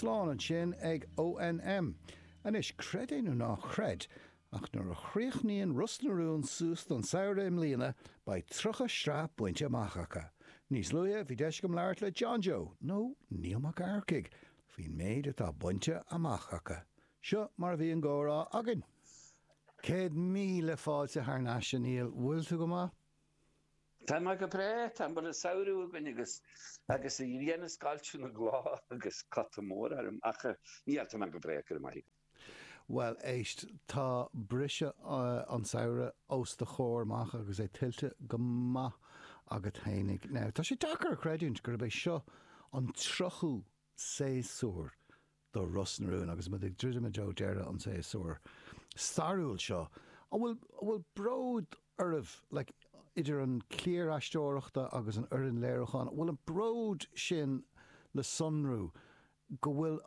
Slán ansin ag ONM. Anois, creid é nó ná creid, ach nuair a chríochnaíonn Ros na Rún suas don samhradh i mbliana, beidh 30 sraith bainte amach acu. Níos luaithe, bhí deis agam labhairt le John Joe, nó Neil Mac Earcaigh, faoin méid atá bainte amach acu. Seo mar a bhí an gcomhrá againn. 100,000 fáilte thar n-ais, a Neil. Bhfuil tú go maith? Tá mé go breá, tá an samhradh againn agus agus an ghrian ag scoilteadh na gcloch agus cota mór orm ach níl, tá mé go breá, go raibh maith agat. Bhuel, éist, tá briseadh an tsamhraidh os do chomhair amach agus é tuillte go maith agat fhéinig. Now, tá sé deacair a chreidiúint gurb é seo an tríochú séasúr do Ros na Rún agus muid ag druidim i dtreo deireadh an tséasúir stairiúil seo. An bhfuil, an bhfuil bród oraibh, like, idir an cliar aisteoireachta agus an fhoireann léiriúcháin, an bhfuil an bród sin le sonrú go bhfuil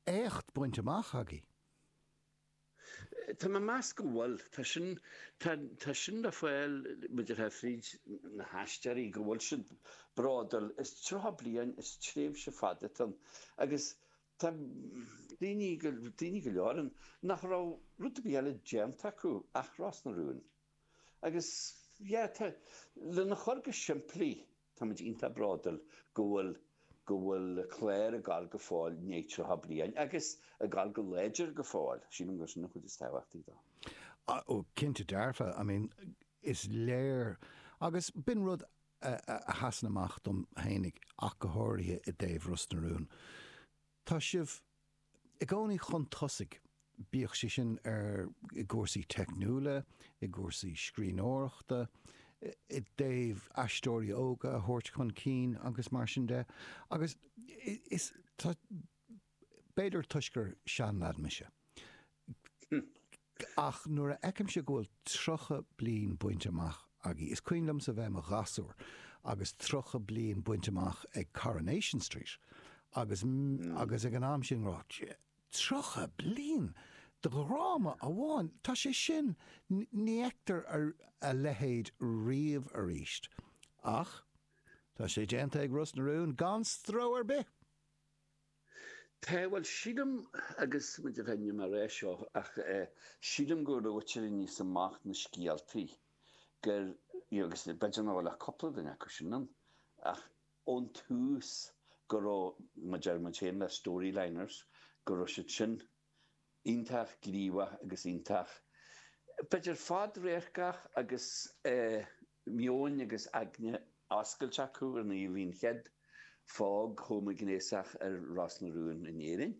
éacht bainte amach agaibh? Tá mé ag meas go bhfuil. Tá sin, tá, tá sin le fáil, mar a déarfá, fríd na haisteoirí, go bhfuil siad bródúil. Is 30 bliain, is tréimhse fada atá ann. Agus tá daoine, daoine go leor ann nach raibh rud ar bith eile déanta acu ach Ros na Rún. Agus, yeah, tá, lena chur go simplí, Táimid iontach bródúil go bhfuil go bhfuil clár ag gabháil go fóill i ndiaidh 30 bliain agus ag gabháil go láidir go fóill. Sílim gur sin an chuid is tábhachtaí dó. Ó, cinnte dearfa. I mean, is léir, agus b'in rud a sheasann amach dom fhéinig ach go háirithe i dtaobh Ros na Rún. Tá sibh i gcónaí chun tosaigh, bíodh sé sin ar i gcúrsaí teicniúla, i gcúrsaí scríbhneoireachta, i dtaobh aisteoirí óga a thabhairt chun cinn agus mar sin de. Agus is, tá, b'fhéidir toisc gur seanleaid mise, ach nuair a fheicimse go bhfuil 30 bliain bainte amach agaibh, is cuimhin liomsa bheith i mo ghasúr agus 30 bliain bainte amach ag Coronation Street agus agus ag an am sin rá, 30 bliain de dhráma amháin, tá sé sin, ní fheictear a leithéid riamh arís. Ach tá sé déanta ag Ros na Rún gan stró ar bith! Tá, bhuel, sílim, agus muid a bheith níl mé ag rá seo ach sílim go raibh ag éirí níos amach na scéaltaí gur, you know, agus b'fhéidir nach bhfuil ach cúpla duine acu sin ann, ach ón tús go raibh, mar a deir muid féin, na storyliners, go raibh siad sin iontach gníomhach agus iontach, b'fhéidir fadradharcach agus meoin agus aigne oscailte acu ar ndóigh bhí an chéad phóg homaighnéasach ar Ros na Rún in Éirinn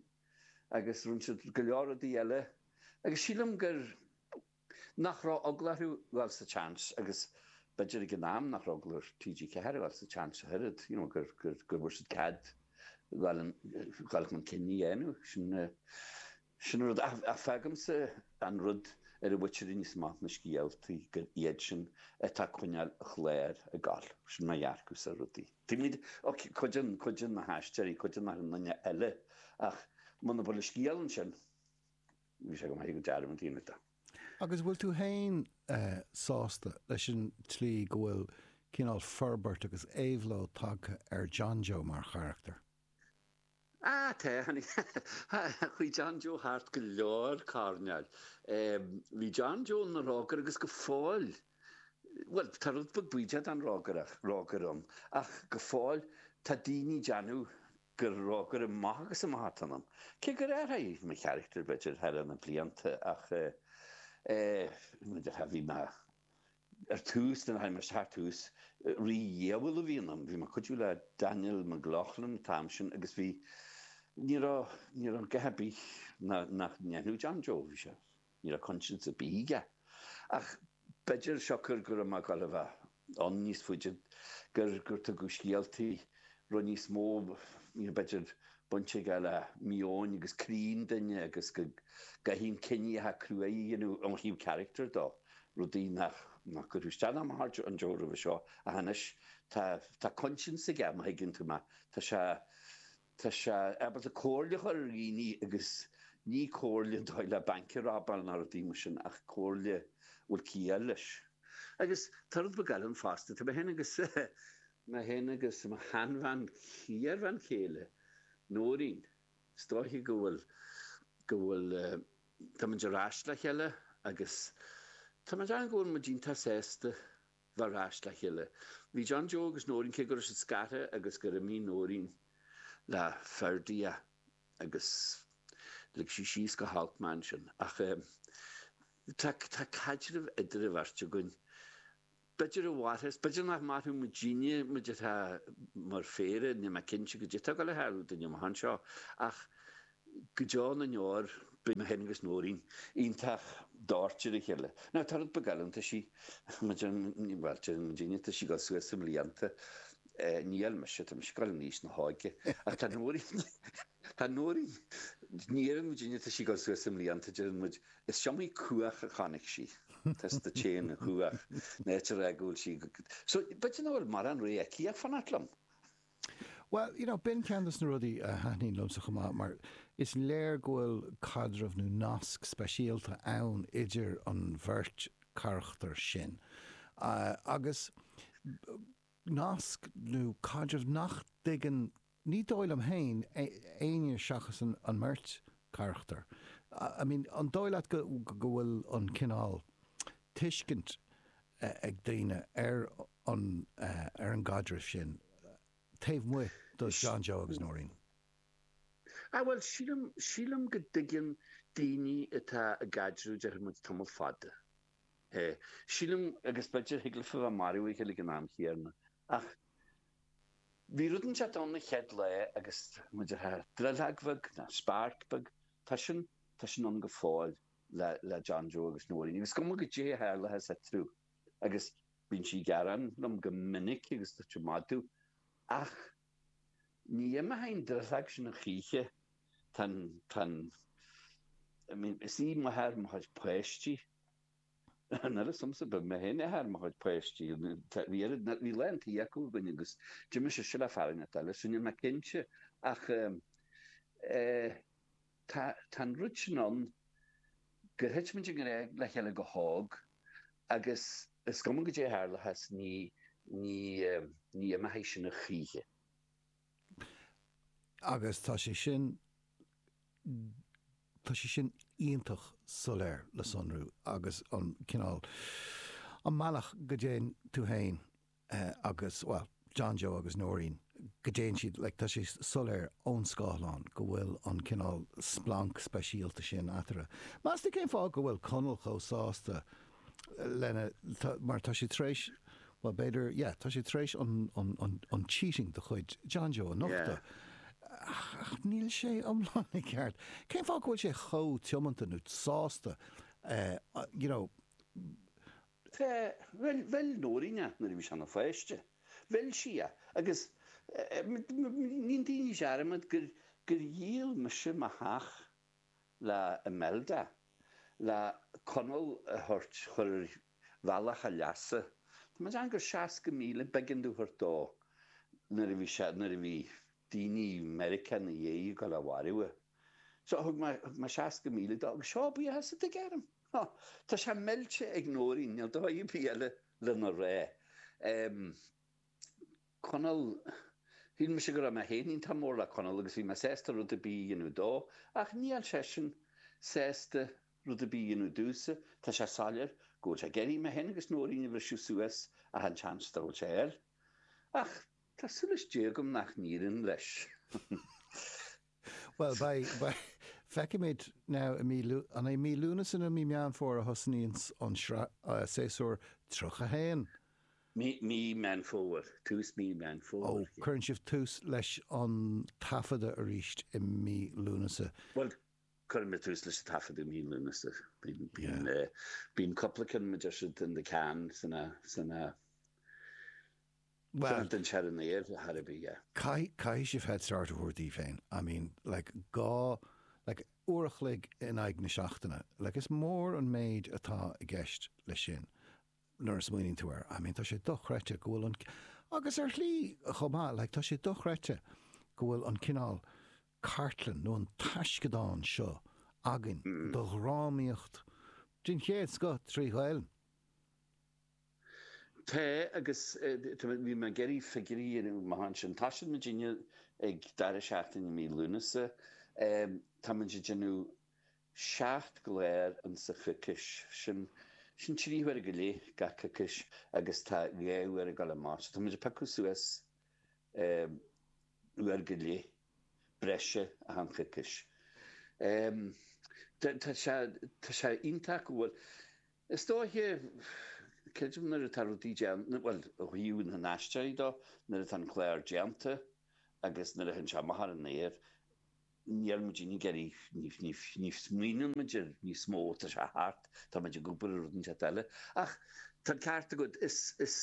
agus rinne siad go leor rudaí eile agus sílim gur nach raibh eagla orthu dhul sa tseans agus b'fhéidir ag an am nach raibh eagla ar TG4 a dhul sa tseans ach oiread, you know, gur, gur, gur bhfuair siad cead dhul an, dhul chun cinn a dhéanamh. Sin, sin an rud. Ach, ach fágaimse an rud ar a bhfaightear níos amach na scéaltaí gur iad sin atá ag coinneáil an chláir ag gabháil. Sin mo dhearcadh ar rudaí. Tuigimid, ok, cuid den, cuid de na haisteoirí, cuid den achan duine eile ach muna bhfuil an scéal ansin, Bhí sé go maith go dearmad a dhéanamh de. Agus bhfuil tú féin sásta leis an tslí go bhfuil cineál forbairt agus éabhlóid tagtha ar John Joe mar charachtar? Ah, tá. Chuaigh John Joe thart go leor coirnéil. Bhí John Joe ina rógaire agus go fóill, bhuel, tá rud beag baoideach den rógaire ann, ach go fóill tá daoine ag déanamh gur rógaire amach agus amach atá ionam. Cé gur athraigh mo charachtar, b'fhéidir, thar na blianta ach eh, bhí mé ar tús, nuair a tháinig mé isteach ar tús, rídhiabhal a bhí ionam. Bhí mé ag cuidiú le Daniel McLaughlin an t-am sin agus bhí, ní raibh, ní raibh a dhath ar bith nach ndéanfadh John Joe, bhí sé, Ní raibh coinsias ar bith aige. Ach b'fhéidir, siocair go raibh mé ag dul a bheith ann níos faide, gur gur tugadh scéaltaí raibh níos mó, you know, b'fhéidir baint aige le meon agus croí an duine agus go gcaithfidh an ciníocha crua a dhéanamh ó thaobh character dó, rudaí nach nach gcuirfeadh isteach ná amach ar John Joe roimhe seo. Ach anois tá tá coinsias aige, má thuigeann tú mé. Tá sé Tá sé ábalta comhairle a chur ar dhaoine agus ní comhairle dóigh le banc a robáil ná rudaí mar sin ach comhairle a bhfuil ciall leis. Agus tá rud beag eile ann fosta, tá mé féin agus mé féin agus mo sheanbhean, iarbhean chéile, Nóirín. Is dóiche go bhfuil, go bhfuil, tá muid ar ais le chéile agus tá mé ag déanamh go bhfuil muid iontach sásta bheith ar ais le chéile. Bhí John Joe agus Nóirín, cé go raibh siad scartha agus gur imigh Nóirín le Ferdia agus lig sí síos go holc mé ansin ach tá, tá caidreamh idir an bheirt againn. B'fhéidir a mhairfeas, b'fhéidir nach mairfeadh muidinne, muid atá mar phéire, níl mé cinnte goidé atá ag dul a tharlú dúinn amach anseo, ach go deo na ndeor beidh mé féin agus Nóirín iontach dóite ar a chéile. Now tá rud beag eile ann, tá sí, bhuel, deireann muidinne, tá sí ag dul suas i mblianta, níl mise, tá mise ag dul in aois na hóige, ach tá Nóirín, tá Nóirín, ní deireann muidinne tá sí ag dul suas i mblianta, deireann muid, Is iomaí cuach a chonaic sí. Tá sa tséan an chuach, an áit a rá go bhfuil sí So, b'fhéidir nach bhfuil mórán ré aici ach fanacht liom. Bhuel, you know, b'in ceann de na rudaí a thaitníonn liomsa chomh maith mar is léir go bhfuil caidreamh nó nasc speisialta ann idir an bheirt charachtar sin. Agus nasc nó caidreamh nach dtuigeann, ní dóigh liom féin, éinne seachas an mbeirt charachtar. I mean, an dóigh leat go bhfuil an cineál tuiscint ag daoine ar an ar an gcaidreamh sin taobh amuigh de John Joe agus Nóirín? Ah bhuel, sílim, sílim go dtuigeann daoine atá i gcaidreamh, déarfaidh muid, tamall fada. É. Sílim, agus b'fhéidir, thig leofa bheith marbh a chéile ag an am chéanna, ach bhí rud inteacht ann an chéad lá agus muid ar drithleog bheag, nó spark beag, tá sin, tá sin ann go fóill le, le John Joe agus Nóirín. Agus is cuma goidé a tharlóchas eatarthu, agus bíonn sí ag gearán liom go minic agus tá sé ag magadh, ach ní imeoidh an drithleog sin a choíche, tá an, tá an, I mean, is í máthair mo chuid páistí. An oiread liomsa, ba mé féin athair mo chuid páistí. Bhí oiread, bhí lán tí acu againn agus d'imigh sise le fear inteacht eile, so níl mé cinnte ach eh, tá, tá an rud sin ann gur thit muid i ngrá le chéile go hóg agus is cuma goidé a tharlóchas ní, ní, ní imeoidh sin a choíche. Agus tá sé sin, tá sé sin iontach soiléir le sonrú agus an cineál, an mbealach go dtéann tú féin agus, bhuel, John Joe agus Nóirín, go dtéann siad, like, tá sé soiléir ón scáileán go bhfuil an cineál splanc speisialta sin eatarthu. Meas tú cén fáth go bhfuil Conall chomh sásta lena, mar tá sé tar éis, bhuel b'fhéidir, yeah, tá sé tar éis an, an, an, an cheating de chuid John Joe a nochtadh. Ach níl sé iomlán i gceart. Cén fáth go bhfuil sé chomh tiomanta nó sásta, you know? Tá, bhuel, mheil Nóirín é nuair a bhí sé ina pháiste. Mheil sí é. Agus ní dhéanann daoine dearmad gur, gur dhíol mise mo theach le Imelda, le Conall a thabhairt, chur ar bhealach a leasa. Tá mé ag déanamh gur 60,000 b'éigean domh a thabhairt dó nuair a bhí sé, nuair a bhí daoine i Meiriceá ina dhiaidh ag dul á mharú. So thug mé, thug mé 60,000 dó agus seo buíochas a thig orm. Tá sé millte ag Nóirín, níl dóigh ar bith eile lena rá. Conall, Shíl mise go raibh mé féin iontach mór le Conall agus bhí mé sásta rud ar bith a dhéanamh dó, ach níl seisean sásta rud ar bith a dhéanamh domhsa. Tá sé soiléir go bhfuil sé ag iarraidh mé féin agus Nóirín a bhriseadh suas achan seans dá bhfuil sé air. Ach tá súil is Dé agam nach n-éiríonn leis. Bhuel, beidh, beidh, feicfimid now i mí Lú, an é mí Lúnasa nó mí Meán Fómhair a thosnaíonns an sraith, séasúr 31? Mí, mí Meán Fómhair, tús mí Meán Fómhair. Ó, cuireann sibh tús leis an taifeadadh arís i mí Lúnasa. Bhuel, cuireann muid tús leis an taifeadadh i mí Lúnasa. Bíonn, bíonn, bíonn cúpla ceann mar a deir siad in the can san, san, Bhuel, den ser an aer, thar a bith, yeah. Caithfidh, caithfidh sibh head start a thabhairt daoibh féin. I mean, like, dhá, like, uair a chloig in aghaidh na seachtaine. Like, is mór an méid atá i gceist leis sin. nuair a smaoiníonn tú air. I mean, tá sé dochreidte go bhfuil an, agus ar shlí chomh maith, like, tá sé dochreidte go bhfuil an cineál cartlann nó an taisceadán seo againn do dhrámaíocht den chéad scoth trí Ghaelainn. Tá, agus bhí mé ag iarraidh figiúirí a dhéanamh amach ansin. Tosaíonn muidinne ag deireadh seachtaine i mí Lúnasa. Tá muid ag déanamh 7 gclár insa choicís, sin, sin 3 huaire go leith gach coicís agus tá 2 uair ag dul amach, so tá muid ag piocadh suas uair go leith breise achan choicís. Tá sé, tá sé iontach go bhfuil, is dóiche, creidim nuair atá rudaí déanta, bhuel, ó thaobh na n-aisteoirí dó, nuair atá an clár déanta agus nuair a théann sé amach ar an aer, Níl muid ag iarraidh, ní smaoiníonn muid air níos mó, tá sé thart, tá muid ag obair ar rud inteacht eile. Ach tá an ceart agat, is, is,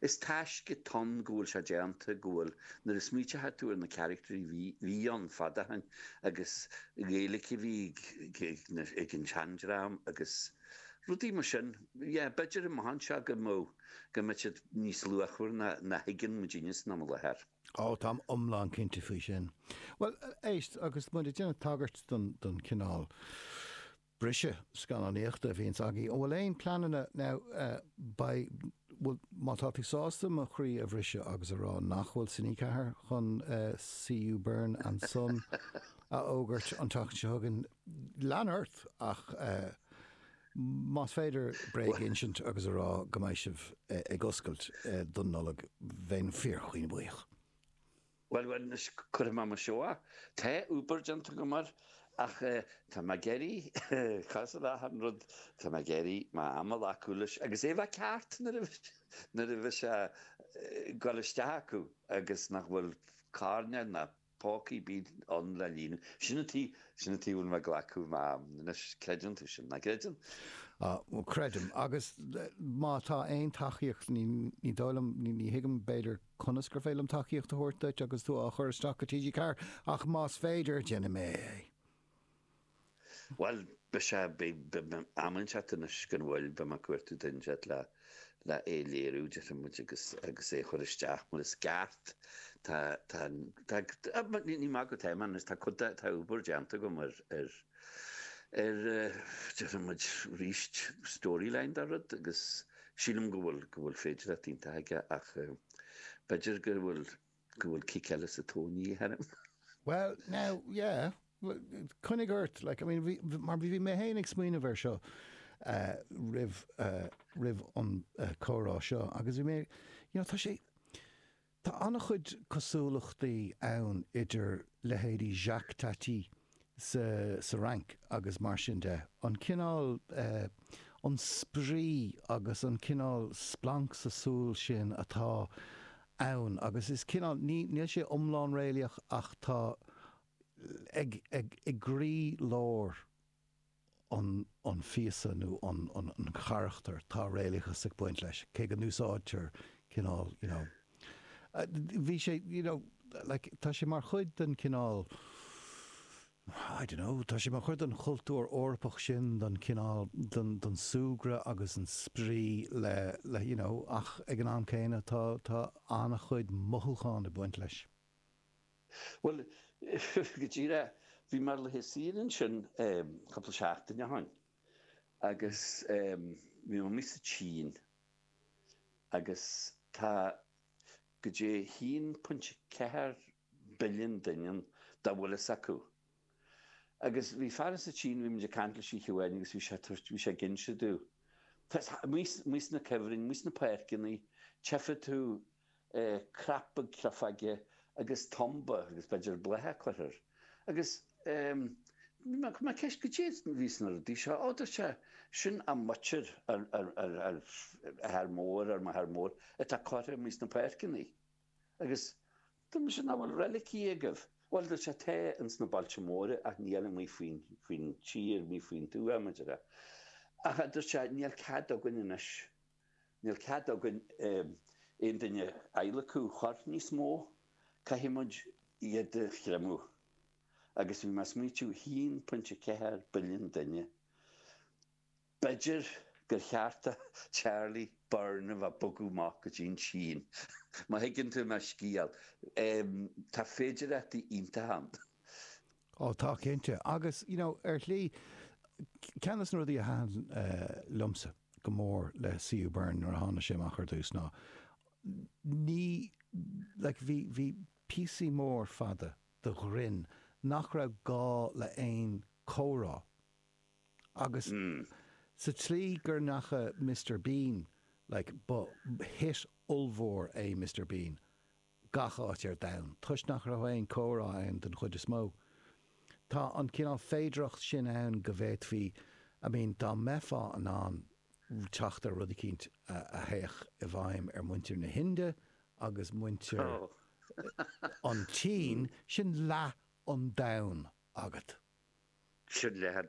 is taisce atá ann go bhfuil sé déanta, go bhfuil, nuair a smaoiteoidh tú ar na caractairí bhí, bhí ann fad ó shin agus Gaeilge a bhí ag, ag, ag an seandream agus rudaí mar sin, yeah, b'fhéidir amach anseo go mbeadh, go mbeadh siad níos luachmhar ná, ná thuigeann muidinne san am i láthair. Ó, táim iomlán cinnte faoi sin. Bhuel, éist, agus muid ag déanamh tagairt don, don chineál briseadh scannánaíochta a bhíonns agaibh, an bhfuil aon pleananna, now, beidh, bhuel, má tá tú sásta mo chroí a bhriseadh agus a rá nach bhfuil Cine 4 chun CU Byrne and Son a fhógairt an tseachtain seo chugainn, lean ort, ach Más féidir bréag a insint agus a rá go mbeidh sibh ag oscailt don Nollaig, bheinn fíorchaoin buíoch. Bhuel, bhuel, anois cuirfidh mé mo seó. Tá obair déanta agam air, ach tá mé ag iarraidh, cosúil le achan rud, tá mé ag iarraidh m'am a ghlacadh leis agus é a bheith ceart nuair a nuair a bheidh sé ag dul isteach acu agus nach bhfuil coirnéal ná póca ar bith ann le líonadh. Sin an tuige, sin an tuige a bhfuil mé ag glacadh m'am. Anois, creideann tú sin, nach gcreideann? Á, bhuel, creidim. Agus má tá aon tacaíocht, ní, ní dóigh liom, ní, ní thuigim, b'fhéidir, conas gur féidir liom tacaíocht a thabhairt duit agus tú á chur isteach go TG4, ach más féidir, déanfaidh mé é. Bhuel, beidh sé, beidh, beidh am inteacht anois gan mhoill, beidh mé ag cuartú duine inteacht le, le é a léiriú, déarfaidh muid, agus, agus é a chur isteach mar is ceart. Tá, tá, tá, ní, ní maith go tá mé anois, tá cuid de, tá obair déanta agam ar, ar, ar, déarfaidh muid, arís, storyline dá rud agus sílim go bhfuil, go bhfuil féidearthacht iontach aige ach b'fhéidir go bhfuil, go bhfuil cic eile sa tóin de dhíth orm. Well, now, yeah, coinnigh ort, like, I mean, bhí, mar bhí mé féin ag smaoineamh air seo roimh, roimh an comhrá seo agus bhí mé, you know, tá sé, tá an-chuid cosúlachtaí ann idir leithéidí Jacques Tati sa, sa Fhrainc agus mar sin de, an cineál, an spraoi agus an cineál splanc sa súil sin atá ann agus is cineál, ní, níl sé iomlán réalaíoch ach tá ag, ag, i gcroí lár an, an phíosa nó an, an, an charachtair, tá réalachas ag baint leis, cé go n-úsáidtear cineál, you know, bhí sé, you know, like, tá sé mar chuid den cineál, I don't know, tá sé mar chuid den chultúr Eorpach sin, den cineál, den, den súgradh agus an spraoi le, le, you know, ach ag an am céanna tá, tá an-chuid mothúchán ag baint leis. Bhuel, go díreach, bhí mé ar laetha saoire ansin cúpla seachtain ó shin agus bhí mé amuigh sa tSín agus tá go dtí 1.4 billiún duine ann dá bhfuil fhios acu. Agus bhí fear sa tSín, bhí muid ag caint leis oíche amháin agus bhí sé ag tabhairt, bhí sé ag inse domh, amuigh sna cuibhrinn, amuigh sna páirceanna, tchífidh tú crap beag creafóige agus tumba agus b'fhéidir bláth curtha air. Agus bhí mé, chuir mé ceist goidé a bhí sna rudaí seo, ó dúirt sé, sin a muintir, ár athair mór, ár máthair mór atá curtha amuigh sna páirceanna. Agus dúirt mise, nach bhfuil reilicí agaibh? Bhuel dúirt sé, tá ins na bailte móra ach níl amuigh faoin, faoin tír, amuigh faoin tuath, mar a déarfá. Ach dúirt sé, níl cead againn anois Níl cead againn aon duine a adhlacadh a chur níos mó, caithfidh muid iad a chreimeadh. Agus bhí mé ag smaoitiú, 1.4 billiún duine, b'fhéidir gur cheart do Charlie Byrne a bheith ag bogadh amach go dtí an tSín, má thuigeann tú mo scéal. Tá féidireachtaí iontacha ann. Ó tá, cinnte. Agus, you know, ar shlí, ceann de na rudaí a thaitin liomsa go mór le C.U. Byrne nuair a tháinig sé amach ar dtús ná ní, like, bhí, bhí píosaí mór fada de ghrinn nach raibh gá le aon comhrá. Agus sa tslí gur ndeacha Mister Bean, like, ba hit ollmhór é Mister Bean gach áit ar domhan, toisc nach raibh aon comhrá ann den chuid is mó. Tá an cineál féidearthacht sin ann go bhféadfaí, I mean, dá mbeifeá in ann teacht ar rud eicínt a théadh i bhfeidhm ar muintir na hInde agus muintir an tSín, sin leath an domhain agat. Sin leath an domhain.